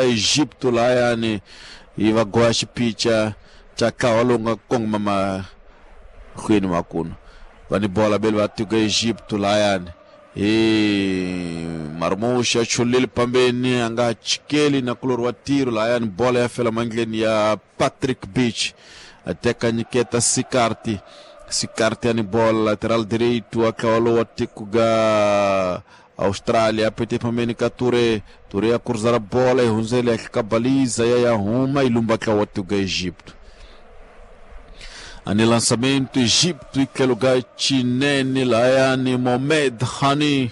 Egipto layani yi va goya xipicha xa ntlawa lowu nga kongoma mahlweni makunu. Va ni bola beli va tiko Egipto layani hi Marmush a chulile pambeni a nga chikeli na kulori wa tiro layani bola ya fela mandleni ya Patrick Beach a teka nyiketa Sikarti. Sikarti ani bola lateral direito wa ntlawa lowu wa tiko ga Austrália apete pambeni ka Touré. Touré a cruzar a bola e hundzele ehenhla ka baliza ya ya huma yi lumba ntlawa wa tiko ga Egipto. Ani lançamento Egipto e tlhelo ga Chinene layani Mohamed Hani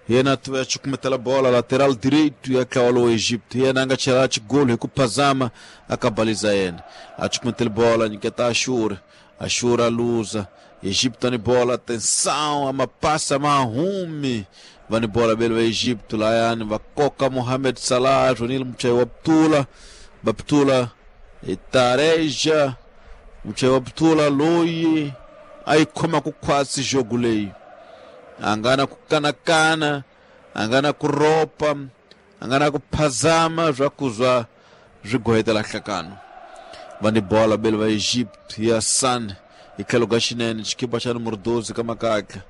yena a cukumetela bola lateral direito ya ntlawa lowu Egipto yena a nga chela xigolo hi ku phazama a ka baliza yena a cukumetele bola nyiketa Ashur. Ashur a luza Egipto ni bola atenção amapassa mahumi va ni bola bele va Egipto layani va koka Mohamed Salah Jonil muchayi wa Ptula Baptula Tareja muchayi wa Ptula loyi a yi khoma ku khwatsi jogo leyi a nga na ku kanakana a nga na ku ropa a nga na ku phazama swa ku zwa swi gohetela nhlakano. Va ni bola bele va Egypt ya San hi tlhelo ka xinene xikipa xa numero 12 ka makatla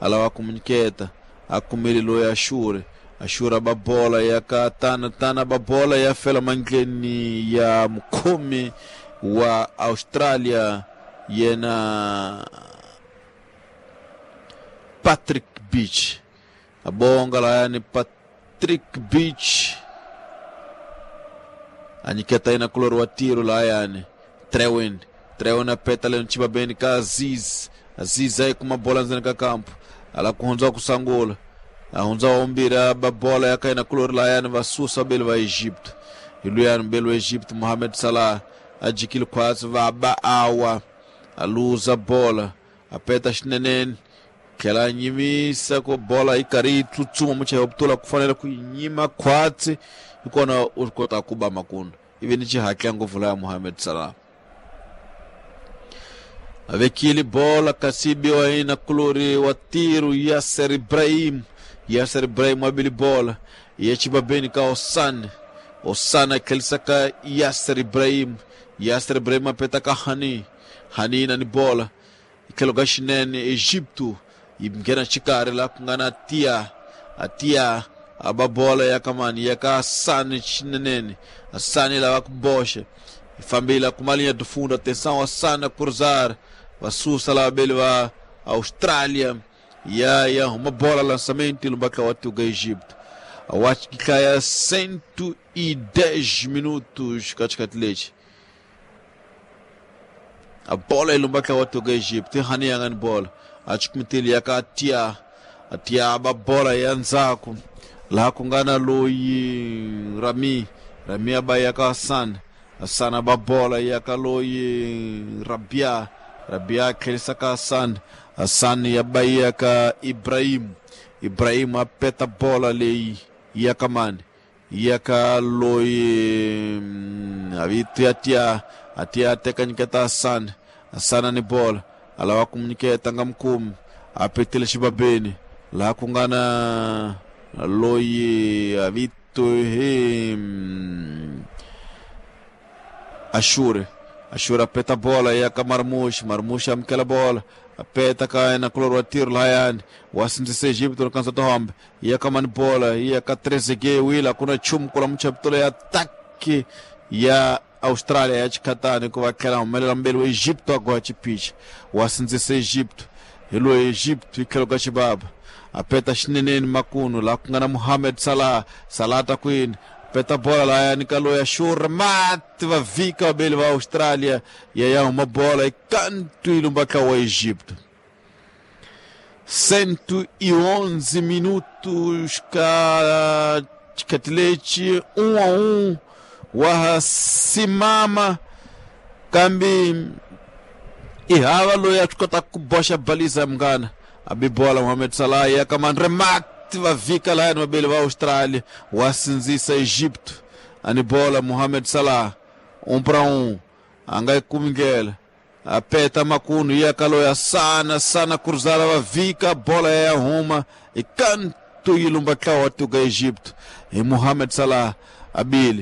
a lava ku munyiketa a kumile loyi Ashure. Ashure a ba bola ya ka tana tana ba bola ya fela mandleni ya mukhomi wa Australia yena Patrick Beach. A bonga layani Patrick Beach a nyiketa yena kulori wa tiro layani Trewin. Trewin a peta leno chibabeni ka Aziz. Aziz aí kuma bola ndzeni ka kampo ala ku hundza ku sangula a hundza ombira ba bola ya kaina kulori layani va susa bele va Egipto. Hi luyani mbele wa Egipto Mohamed Salah a jikile khwatsi va ba awa a luza bola a peta xineneni tlhela a nyimisa ku bola yi karhi yi tsutsuma muchayi wa putula ku fanele ku yi nyima khwatsi hi kona u swi kota ku ba makunu ivi ni xihatla ngopfu laya Mohamed Salah a vekile bola kasi biwa yina kulori wa tiro Yasser Ibrahim. Yasser Ibrahim a bile bola ya chibabeni ka Osan. Osan a tlhelisa ka Yasser Ibrahim. Yasser Ibrahim a peta ka Hani. Hani na ni bola hi tlhelo ka xinene Egipto yi nghena xikarhi laha ku nga na Tia. Atia a ba bola ya ka mani ya ka Hassan xinenene. Hassan lava ku boxa yi fambile kuma linha de fundo atenção Hassan a cruzar va susa lava bele va Austrália ya ya huma bola lançamento e lumba wa tuga Egipto. Acho que ya 110 minutos katikati lexi a bola ilumba wa tuga Egipto hani yanga ni bola a cukumetele ya ka Atia. Atia ba bola ya ndzhaku laha ku nga na loyi Rami. Rami a ba ya ka Hassan. Hassan a ba bola ya ka loyi Rabia. Rabia a tlhelisa ka Hassan. Hassan ya ba ya ka Ibrahim. Ibrahim a peta bola leyi ya ka mani ya ka loyi a vito ya Tia. Atia a teka nyiketa Hassan. Hassan a ni bola a lava ku nyiketa nga mukumi a petile xibabeni laha ku nga na loyi a vito hi Ashure. Ashure a peta bola ya ka Marmush. Marmush amukela bola a peta ka yena kulori wa tiro lahayani wa sindzisa Egipto na kansa tohombe ya ka mani bola ya ka Trezeguet wila kuna nchumu kula muchaputula ya ataki ya Austrália ya xikhatani ku va tlhela humelela mbeli wa Egipto a goya xipichi wa sindzisa Egipto hi loyi Egipto hi tlhelo ka xibaba a peta xineneni makunu laha ku nga na Mohamed Salah. Salah ta kwini peta bola lahayani ka loyi Ashur mati va vhika vabeli va Australia ya ya huma bola yi kantu yi lumba wa Egipto. 111 minutos ka xikhathi lexi 1-1 wa simama kambe i hava loyi a swi kotaka ku boxa baliza munghana a bi bola Mohamed Salah ya ka Manremat va vhika lahayani vabeli va Australia wa sindzisa Egipto a ni bola Mohamed Salah 1-1 a nga yi kumi ndlela a peta makunu ya ka loyi Sana. Sana cruzar va vhika bola ya huma i kantu yi lumba ntlawa wa tuka Egipto hi Mohamed Salah a bile.